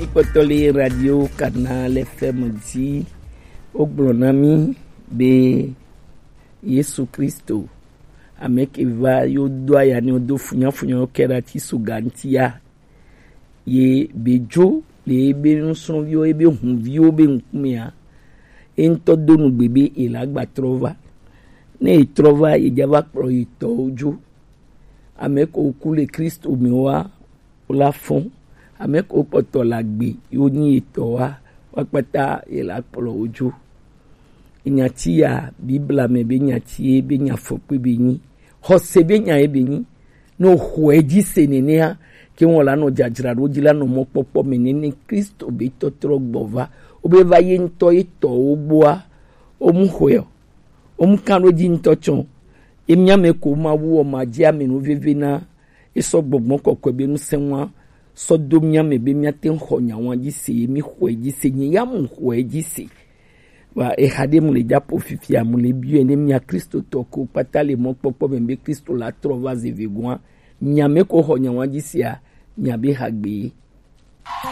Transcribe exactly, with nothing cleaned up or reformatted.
Kpɔtɔ le Radio Canal F M dzi. Wogblɔ na mí be Yesu Kristo, ame ke va yo do aya ne wodo funyafunya wo ke ɖe ati so ga ŋutia, ye be dzo le ebe nusrɔ̃viwo, ebe hunviwo be ŋkumea, ye ŋutɔ do nugbe be ye la gba trɔ va. Ne ye trɔ va, ye dza va kplɔ ye tɔwo dzo. Ame ko ku le Kristo me wa, wo la fɔn. Ame ko kpɔtɔ la gbe, yo nyi ye tɔ wa, wa kpata ye la kplɔ wo dzo. Nyati ya, Biblia me be nyati ye be nya fɔkpe be nyi. Xɔse be nya ye be nyi. Ne o xɔe dzi se nenea, ke wɔn la nɔ dzadzraɖo dzi la nɔ mɔkpɔkpɔ me nene Kristo be tɔtrɔ gbɔ va. Wo be va ye ŋutɔ ye tɔwo gbɔa, wo mu xɔe o. Wo mu kan ɖo dzi ŋutɔ tsɔ. Ye mía me ko Mawu wɔ ma dzi ame nu veve na. Ye sɔ gbɔgbɔ kɔkɔe be ŋusẽ wa sɔ do mía me be mía te ŋu xɔ nya wa dzi se, ye mi xɔe dzi se, nye ya mu xɔe dzi se. Wa exa ɖe mu le dzapo fifia, mu le biɔe ne mía Kristotɔ ko kpata le mɔkpɔkpɔ me be Kristo la trɔ va ze vegoa, mía me ko xɔ nya wa dzi sea, mía be ha gbe.